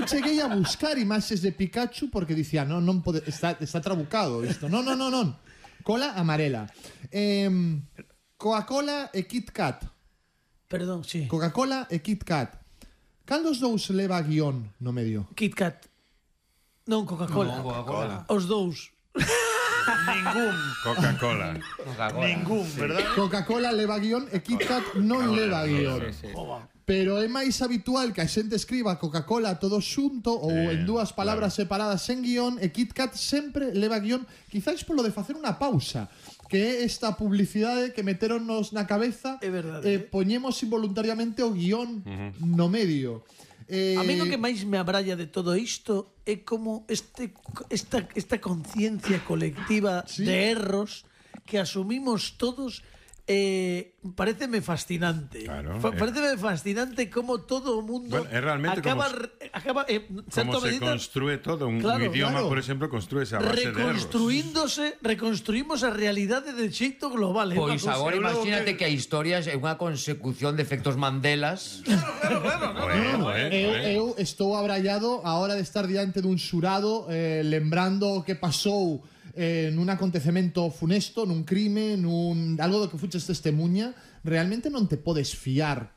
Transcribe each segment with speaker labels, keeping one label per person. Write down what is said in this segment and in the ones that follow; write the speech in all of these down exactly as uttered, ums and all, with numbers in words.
Speaker 1: cheguei a buscar imaxes de Pikachu porque dicía, non, non pode, está, está trabucado isto. Non, non, non, non. Cola amarela. Eh, Coca-Cola e Kit Kat.
Speaker 2: Perdón, sí.
Speaker 1: Coca-Cola e Kit Kat. Cal dos dous leva guión no medio?
Speaker 2: Kit Kat. Non Coca-Cola.
Speaker 3: No, Coca-Cola.
Speaker 2: Os dous.
Speaker 4: Ningún.
Speaker 5: Coca-Cola.
Speaker 3: Coca-Cola.
Speaker 4: Ningún, verdad?
Speaker 1: Coca-Cola leva guión e Kit Kat non leva guión.
Speaker 3: Sí, sí.
Speaker 1: Pero é máis habitual que a xente escriba Coca-Cola todo xunto ou
Speaker 5: Eh,
Speaker 1: en dúas palabras
Speaker 5: claro.
Speaker 1: separadas sen guión, e Kit Kat sempre leva guión, quizáis polo de facer unha pausa, que é esta publicidade que meteronnos na cabeza.
Speaker 2: É verdade,
Speaker 1: eh,
Speaker 2: eh.
Speaker 1: poñemos involuntariamente o guión no medio. Eh,
Speaker 2: A mí o que máis me abralla de todo isto é como este, esta, esta conciencia colectiva
Speaker 1: Sí.
Speaker 2: de erros que asumimos todos. Eh, pareceme fascinante.
Speaker 5: Claro,
Speaker 2: Fa,
Speaker 5: eh.
Speaker 2: pareceme fascinante como todo o mundo
Speaker 5: Bueno, é realmente
Speaker 2: acaba,
Speaker 5: como
Speaker 2: re- acaba eh,
Speaker 5: Como
Speaker 2: certa
Speaker 5: se
Speaker 2: medida,
Speaker 5: construe todo un,
Speaker 2: Claro,
Speaker 5: un idioma,
Speaker 1: claro.
Speaker 5: por exemplo, construe esa base de erros.
Speaker 2: reconstruíndose, reconstruímos a realidade de xeito global. É unha
Speaker 3: Pois
Speaker 2: cousa-
Speaker 3: agora
Speaker 4: Eu logo
Speaker 3: imagínate
Speaker 4: que-
Speaker 3: que a historia é unha consecución de efectos Mandelas.
Speaker 5: Bueno, eh,
Speaker 1: Eu,
Speaker 5: eh.
Speaker 1: eu estou abrallado a hora de estar diante dun xurado eh, lembrando o que pasou eh, nun acontecemento funesto, nun crime, nun algo do que fuches testemunha. Realmente non te podes fiar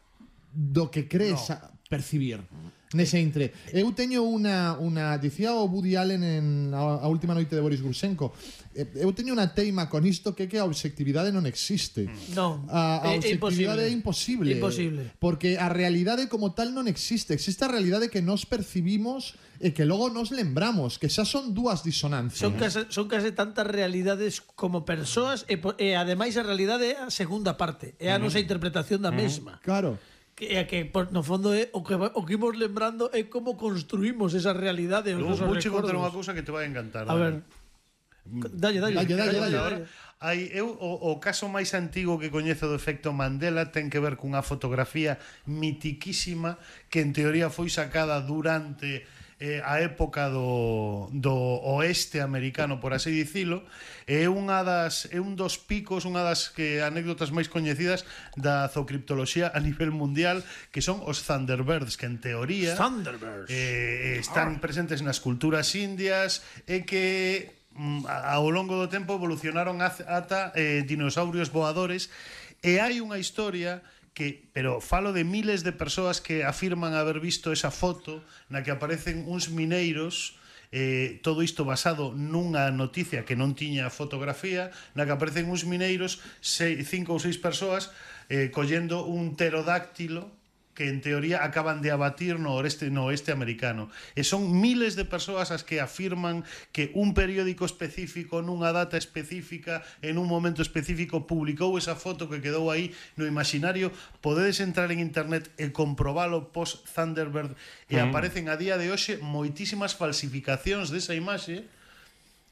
Speaker 1: do que crees no. a percibir nese intre. Eu teño unha, unha dicía o Woody Allen en a, a última noite de Boris Grushenko, eh, eu teño unha teima con isto que que a obxectividade non existe.
Speaker 2: Non,
Speaker 1: A, a
Speaker 2: é- é
Speaker 1: obxectividade é
Speaker 2: imposible.
Speaker 1: imposible.
Speaker 2: Imposible.
Speaker 1: Porque a realidade como tal non existe. Existe a realidade que nos percibimos e que logo nos lembramos, que xa son dúas disonancias.
Speaker 2: Son case, son case tantas realidades como persoas e, po- e ademais a realidade é a segunda parte, é a nosa interpretación da mesma.
Speaker 1: Claro.
Speaker 2: Que, é que por, no fondo é o que va- o que imos lembrando é como construímos esa realidade, os
Speaker 4: Luego
Speaker 2: nosos
Speaker 4: vou che contar unha
Speaker 2: recordos.
Speaker 4: cousa que te vai a encantar.
Speaker 2: A ver. Dalle, dalle.
Speaker 1: Dalle, dalle, dalle.
Speaker 4: Ahora, hai, eu, o, o caso máis antigo que coñezo do efecto Mandela ten que ver cunha fotografía mitiquísima que en teoría foi sacada durante eh, a época do, do oeste americano, por así dicilo. É unha das é un dos picos, unha das que anécdotas máis coñecidas da zoocriptoloxía a nivel mundial, que son os Thunderbirds, que en teoría
Speaker 2: Thunderbirds.
Speaker 4: eh, están presentes nas culturas indias e que ao longo do tempo evolucionaron ata eh, dinosaurios voadores, e hai unha historia que, pero falo de miles de persoas que afirman haber visto esa foto na que aparecen uns mineiros, eh, todo isto basado nunha noticia que non tiña fotografía, na que aparecen uns mineiros, sei, cinco ou seis persoas eh, collendo un pterodáctilo que en teoría acaban de abatir no oeste, no oeste americano. E son miles de persoas as que afirman que un periódico específico nunha data específica en un momento específico publicou esa foto que quedou aí no imaginario. Podedes entrar en internet e comprobalo post Thunderbird e mm. aparecen a día de hoxe moitísimas falsificacións desa imaxe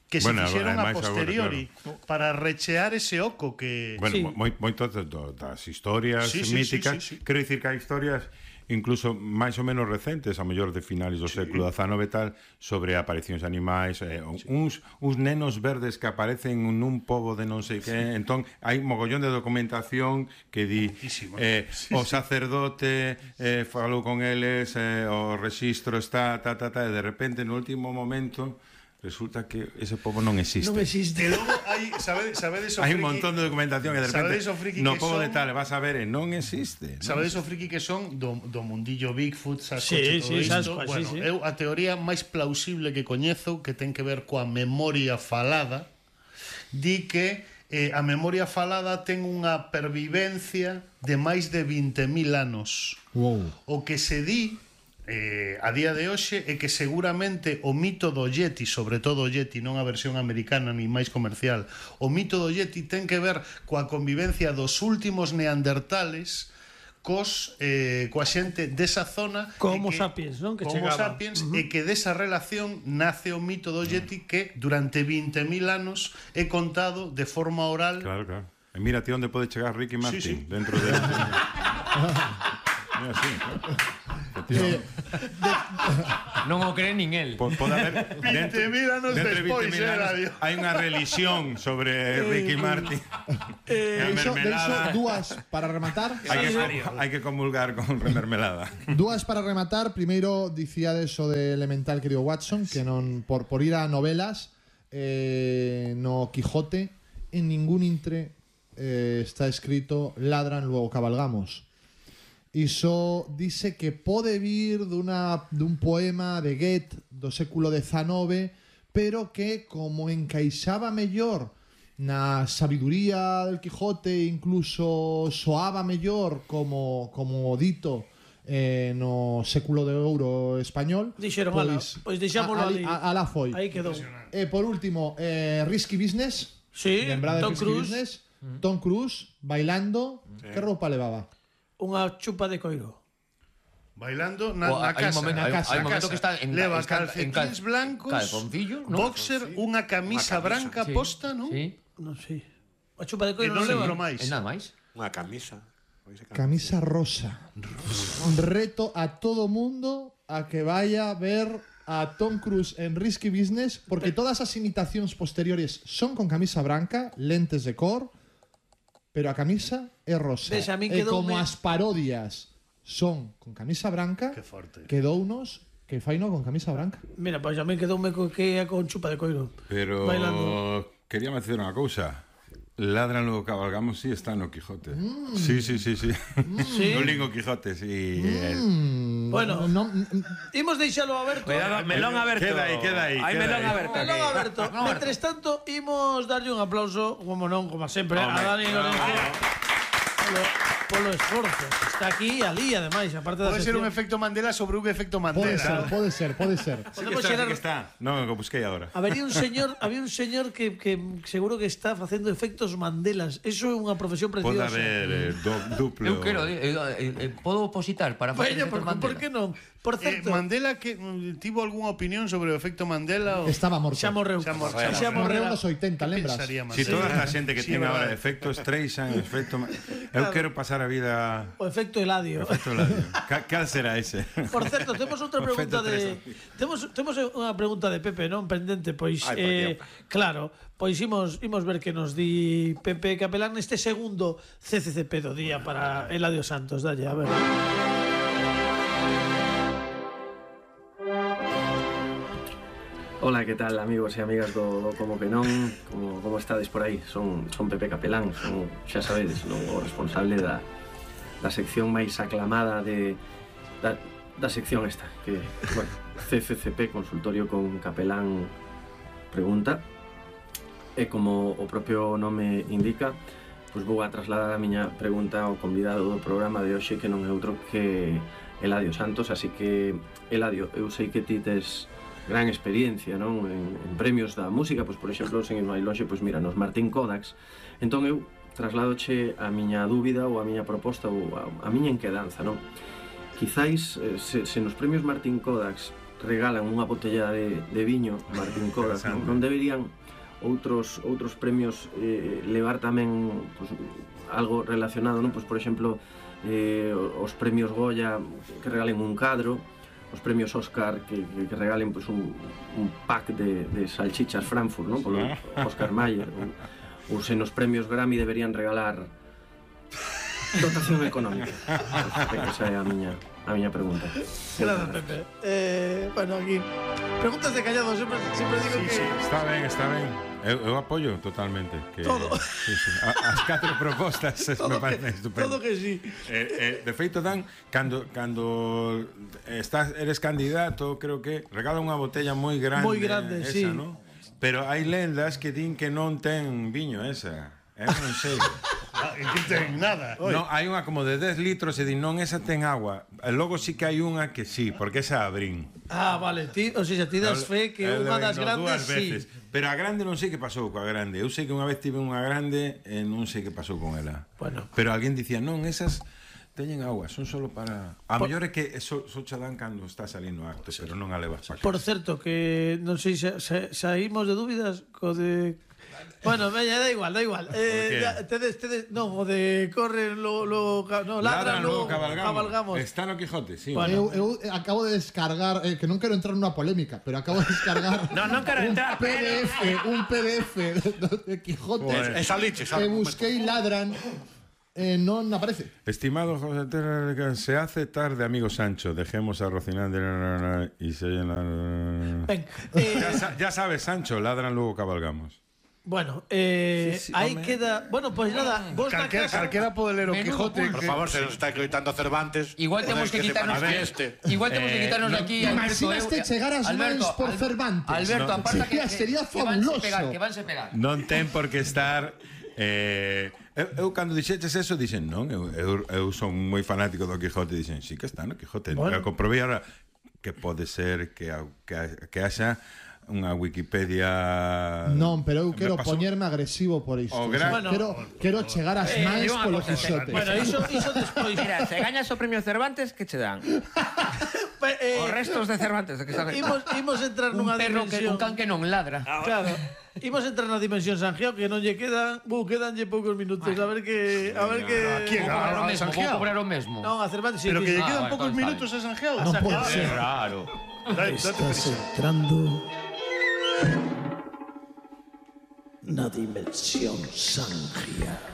Speaker 4: que se
Speaker 5: Bueno,
Speaker 4: fixeron a
Speaker 5: ademais
Speaker 4: posteriori
Speaker 5: agora, claro,
Speaker 4: para rechear ese oco que...
Speaker 5: Bueno,
Speaker 2: Sí.
Speaker 5: moi, moitas das historias
Speaker 4: Sí, sí,
Speaker 5: míticas,
Speaker 4: sí, sí, sí.
Speaker 5: quero dicir que hai historias incluso máis ou menos recentes, a mellor de finales do sí. século dezanove e tal, sobre aparicións de animais, eh, sí. uns, uns nenos verdes que aparecen nun pobo de non sei que, entón hai mogollón de documentación que di eh,
Speaker 4: sí,
Speaker 5: o
Speaker 4: sí.
Speaker 5: sacerdote eh, falou con eles, eh, o rexistro está, ta, ta, ta, e de repente no último momento resulta que ese pobo non existe.
Speaker 2: Non existe.
Speaker 4: E logo hai, sabedes, sabedes o
Speaker 5: Hai un
Speaker 4: friki-
Speaker 5: montón de documentación e de repente
Speaker 4: sabedes o friki
Speaker 5: no
Speaker 4: que
Speaker 5: pobo
Speaker 4: son-
Speaker 5: de tal vas a ver e non existe. Non
Speaker 4: Sabedes o friki que son do, do mundillo Bigfoot, Sasquatch
Speaker 2: Sí,
Speaker 4: e todo
Speaker 2: sí,
Speaker 4: isto?
Speaker 2: Sasquatch,
Speaker 4: Bueno,
Speaker 2: sí, sí.
Speaker 4: eu a teoría máis plausible que coñezo, que ten que ver coa memoria falada, di que eh, a memoria falada ten unha pervivencia de máis de vinte mil anos.
Speaker 1: Wow.
Speaker 4: O que se di eh, a día de hoxe é que seguramente o mito do Yeti, sobre todo o Yeti, non a versión americana ni máis comercial, o mito do Yeti ten que ver coa convivencia dos últimos neandertales cos eh, coa xente desa zona,
Speaker 2: Como
Speaker 4: e que,
Speaker 2: sapiens, non? Que
Speaker 4: como
Speaker 2: chegaba.
Speaker 4: sapiens, uh -huh. e que desa relación nace o mito do Yeti que durante vinte mil anos é contado de forma oral.
Speaker 5: Claro, claro. E mira ti onde pode chegar Ricky Martin,
Speaker 4: Sí, sí.
Speaker 5: dentro de Mira, sí, claro.
Speaker 1: Eh, de,
Speaker 3: Non o cree nin el.
Speaker 5: Po- Pode haber
Speaker 4: vinte mil anos
Speaker 5: dentro de
Speaker 4: despois,
Speaker 5: vinte mil
Speaker 4: eh,
Speaker 5: anos,
Speaker 4: radio.
Speaker 5: hai unha religión sobre Ricky Martin.
Speaker 1: Deixo,
Speaker 5: E a
Speaker 1: deixo
Speaker 5: mermelada.
Speaker 1: dúas para rematar.
Speaker 5: Hai que, hai que comulgar con remermelada.
Speaker 1: Dúas para rematar. Primeiro, dicíades o de Elemental, querido Watson, que non por, por ir a novelas, eh, no Quijote, en ningún intre eh, está escrito ladran, luego cabalgamos. Iso dice que pode vir duna, dun poema de Goethe do século dezenove, pero que como encaixaba mellor na sabiduría del Quijote, incluso soaba mellor como, como dito eh, no século de ouro español,
Speaker 2: Dixeron, ala, pois deixámolo
Speaker 1: a-
Speaker 2: ali.
Speaker 1: a- alá foi.
Speaker 2: Aí quedou.
Speaker 1: E por último, eh, Risky Business.
Speaker 2: Sí,
Speaker 1: Lembrade
Speaker 2: Tom
Speaker 1: Risky
Speaker 2: Cruise.
Speaker 1: Business. Tom Cruise bailando. Que roupa levaba?
Speaker 2: Unha chupa de coiro.
Speaker 4: Bailando na,
Speaker 3: O,
Speaker 4: na
Speaker 3: hai un
Speaker 4: casa.
Speaker 3: momento,
Speaker 4: na
Speaker 3: hai un-
Speaker 4: casa,
Speaker 3: hai un
Speaker 4: na
Speaker 3: momento
Speaker 4: casa.
Speaker 3: que está en-
Speaker 4: Leva
Speaker 3: está en
Speaker 4: calcetins
Speaker 3: cal-
Speaker 4: blancos,
Speaker 3: calzoncillos, ¿no?
Speaker 4: boxer, unha camisa branca
Speaker 3: Sí.
Speaker 4: posta, non?
Speaker 3: Sí.
Speaker 2: Non sei. A chupa de
Speaker 4: E
Speaker 2: coiro
Speaker 4: non
Speaker 2: non leva.
Speaker 4: lembro máis.
Speaker 3: E nada máis.
Speaker 6: Unha camisa. Pois é,
Speaker 1: Camisa rosa. Reto a todo mundo a que vaya a ver a Tom Cruise en Risky Business, porque todas as imitacións posteriores son con camisa branca, lentes de cor, pero a camisa é rosa.
Speaker 2: Ves, a min
Speaker 1: E
Speaker 2: quedoume-
Speaker 1: como as parodias son con camisa branca,
Speaker 4: Que forte.
Speaker 1: quedounos que faino con camisa branca.
Speaker 2: Mira, pois a mí quedoume co que é con chupa de coiro.
Speaker 5: Pero
Speaker 2: Bailando.
Speaker 5: quería decir unha cousa. Ladran, luego cabalgamos, sí está no Quijote. Sí, sí, sí, sí.
Speaker 2: Sí?
Speaker 5: No lingo Quijote, sí. el-
Speaker 1: Mm,
Speaker 2: Bueno.
Speaker 1: no,
Speaker 2: Imos deixalo aberto.
Speaker 6: Cuidado, melón aberto.
Speaker 5: Queda aí, queda aí,
Speaker 6: Hai
Speaker 5: queda
Speaker 6: melón
Speaker 5: aí.
Speaker 6: aberto.
Speaker 2: Melón
Speaker 6: aquí.
Speaker 2: aberto. Mentres tanto, imos darlle un aplauso, como non, como sempre, a
Speaker 6: Home,
Speaker 2: Dani Lorenzo polo, polo esforzo. Está aquí e ali, ademais, aparte da
Speaker 4: Pode ser un
Speaker 2: sección.
Speaker 4: efecto Mandela sobre un efecto
Speaker 1: Pode ser,
Speaker 4: Mandela.
Speaker 1: pode ser, pode ser.
Speaker 5: Sí que
Speaker 2: Podemos
Speaker 5: está, sí
Speaker 2: xerar-
Speaker 5: que está. No, lo busquei agora.
Speaker 2: Habería un señor, había un señor que, que seguro que está facendo efectos Mandelas. Eso é unha profesión
Speaker 5: Pode
Speaker 2: preciosa.
Speaker 5: haber eh, do, duplo.
Speaker 3: Eu quero, eh, eh, eh, podo opositar para facer
Speaker 2: Veña,
Speaker 3: efectos
Speaker 2: por, por
Speaker 3: Mandela.
Speaker 2: que non? Por
Speaker 4: Eh,
Speaker 2: certo,
Speaker 4: Mandela que mm, tivo algunha opinión sobre o efecto Mandela? O...
Speaker 1: Estaba morto.
Speaker 2: xa morreu.
Speaker 4: Xa mor-
Speaker 2: Xa,
Speaker 4: xa
Speaker 1: Morreu
Speaker 2: morreu.
Speaker 1: nos oitenta, lembras?
Speaker 4: Pensaría
Speaker 5: Si
Speaker 4: Mandela.
Speaker 5: toda a xente que
Speaker 4: Sí,
Speaker 5: ten
Speaker 4: verdade.
Speaker 5: agora efectos Streisand, efecto... Eu quero pasar a vida...
Speaker 2: O efecto Eladio.
Speaker 5: Efecto Eladio. Ca- Cal será ese?
Speaker 2: Por certo, temos outra
Speaker 5: O
Speaker 2: pregunta
Speaker 5: efecto
Speaker 2: de temos temos unha pregunta de Pepe, non pendente, pois
Speaker 6: Ai, por
Speaker 2: eh,
Speaker 6: Dios.
Speaker 2: claro, pois imos imos ver que nos di Pepe Capelán neste segundo C C C P do día para Eladio Santos, dalle, a ver.
Speaker 7: Ola, que tal, amigos e amigas do, do Como que non? Como, como estades por aí? Son, son Pepe Capelán, son, xa sabedes, non, o responsable da, da sección máis aclamada de, da, da sección esta, que, bueno, C C C P, Consultorio con Capelán Pregunta. E como o propio nome indica, pois vou a trasladar a miña pregunta ao convidado do programa de hoxe, que non é outro que Eladio Santos, así que, Eladio, eu sei que ti tes gran experiencia, non? En, en premios da música, pois por exemplo, sen ir máis lonxe, pois mira, nos Martín Kodaks. Entón eu trasladoche a miña dúbida ou a miña proposta ou a, a miña enquedanza, non? Quizáis, eh, se, se nos premios Martín Kodaks regalan unha botella de, de viño Martín Kodaks, non, non deberían outros outros premios eh, levar tamén pois, algo relacionado, non? Pois por exemplo, eh, os premios Goya que regalen un cadro, os premios Oscar que, que, que regalen pois, un, un pack de, de salchichas Frankfurt, non? Polo Oscar Mayer, ou, ou se nos premios Grammy deberían regalar dotación económica. Pois, esa é a miña a miña pregunta.
Speaker 2: Gracias, Pepe. Eh, bueno, aquí preguntas de callado, sempre sempre digo que
Speaker 5: Está ben, está ben. Eu, eu apoio totalmente que
Speaker 2: Todo.
Speaker 5: Sí, sí. A, as catro propostas
Speaker 2: todo
Speaker 5: me
Speaker 2: que,
Speaker 5: parecen estupendas.
Speaker 2: todo que sí.
Speaker 5: Eh, eh, de feito dan cando cando estás eres candidato, creo que regala unha botella moi grande,
Speaker 2: Moi grande,
Speaker 5: esa,
Speaker 2: sí.
Speaker 5: ¿no? Pero hai lendas que din que non ten viño esa. Eu non sei.
Speaker 4: Ah, en que ten nada.
Speaker 5: Non, hai unha como de dez litros e din non, esa ten agua. E logo sí que hai unha que sí, porque esa abrín.
Speaker 2: Ah, vale, ti, o sea, ti das fe que
Speaker 5: Eu
Speaker 2: unha
Speaker 5: levo
Speaker 2: das
Speaker 5: no
Speaker 2: grandes
Speaker 5: dúas
Speaker 2: sí.
Speaker 5: veces. Pero a grande non sei que pasou coa grande. Eu sei que unha vez tive unha grande e non sei que pasou con ela.
Speaker 2: Bueno.
Speaker 5: Pero alguén dicía, non, esas teñen agua, son solo para... A
Speaker 2: Por-
Speaker 5: mellor é que so, so cha dan cando está salindo acto, pero non a levas para
Speaker 2: Por certo, que non sei se, se saímos de dúbidas co de Bueno, veña, da igual, da igual. Eh,
Speaker 5: qué?
Speaker 2: ya, tedes, tedes, non, o de corren, lo, lo, no, ladran,
Speaker 5: luego
Speaker 2: lo
Speaker 5: cabalgamos.
Speaker 2: cabalgamos.
Speaker 5: Está no Quijote, sí.
Speaker 2: Bueno.
Speaker 1: Eu, eu acabo de descargar, eh, que non quero entrar nunha polémica, pero acabo de descargar
Speaker 6: No, non quero entrar,
Speaker 1: un P D F, un P D F de, de Quijote.
Speaker 5: Joder.
Speaker 6: Esa liche,
Speaker 1: E busquei ladran, eh, non aparece.
Speaker 5: Estimado José Terra, se hace tarde, amigo Sancho. Dejemos a Rocinante y se...
Speaker 2: Ben, eh,
Speaker 5: Ya, sa- ya sabes, Sancho, ladran, luego cabalgamos.
Speaker 2: bueno, eh,
Speaker 3: Sí, sí,
Speaker 2: aí
Speaker 3: home.
Speaker 2: queda, bueno, pois pues nada, vos na
Speaker 4: Calquera,
Speaker 2: casa.
Speaker 4: calquera pode ler o
Speaker 3: Menudo
Speaker 4: Quijote.
Speaker 3: pulso.
Speaker 6: Por favor, se nos está gritando Cervantes.
Speaker 3: Igual temos que
Speaker 6: se
Speaker 3: quitarnos
Speaker 6: manifieste.
Speaker 3: Igual temos que quitarnos de aquí Alberto,
Speaker 1: Imaginaste
Speaker 3: eu-
Speaker 1: chegar as mans por
Speaker 3: Al-
Speaker 1: Cervantes.
Speaker 3: Alberto,
Speaker 1: No.
Speaker 3: aparta que,
Speaker 1: Sería-
Speaker 3: que
Speaker 1: sería
Speaker 3: que vanse
Speaker 1: fabuloso.
Speaker 3: pegar, que vanse pegar.
Speaker 5: Non ten por que estar... Eh, eu, eu cando dixeches eso dixen non, eu, eu, eu son moi fanático do Quijote, dixen, sí que está no Quijote.
Speaker 2: Bueno.
Speaker 5: Eu comprobei ahora que pode ser que, a- que, a- que haxa unha Wikipedia.
Speaker 1: Non, pero eu
Speaker 5: Me
Speaker 1: quero
Speaker 5: pasou-
Speaker 1: poñerme agresivo por isto.
Speaker 5: O
Speaker 1: O sea,
Speaker 5: gran-
Speaker 2: Bueno.
Speaker 1: quero, quero chegar ás mans
Speaker 8: digo unha
Speaker 1: polo
Speaker 8: cosa,
Speaker 1: Quijote.
Speaker 2: Bueno, iso, iso despois.
Speaker 8: Mira, se gañas o premio Cervantes, que che dan?
Speaker 2: Pe- eh,
Speaker 8: Os restos de Cervantes, que saben.
Speaker 2: imos, imos entrar
Speaker 3: Un
Speaker 2: nunha
Speaker 3: perro que
Speaker 2: dimensión.
Speaker 3: un can que non ladra.
Speaker 2: Claro. Imos entrar na dimensión Sanjeo, que non lle quedan, bu, quedanlle poucos minutos, a ver que a ver que
Speaker 4: quién?
Speaker 3: Vou cobrar o
Speaker 4: a
Speaker 3: mesmo, vou
Speaker 4: Sanjeao.
Speaker 3: cobrar o mesmo.
Speaker 2: Non, a Cervantes sí,
Speaker 4: Pero que
Speaker 2: sí.
Speaker 4: lle
Speaker 3: Ah,
Speaker 4: quedan
Speaker 3: vale,
Speaker 4: pocos
Speaker 3: vale,
Speaker 4: minutos a Sanjeao.
Speaker 1: Non pode
Speaker 4: Ah,
Speaker 1: ser.
Speaker 3: Raro.
Speaker 4: Dai, date prisa.
Speaker 2: entrando na dimensión Sanjeo.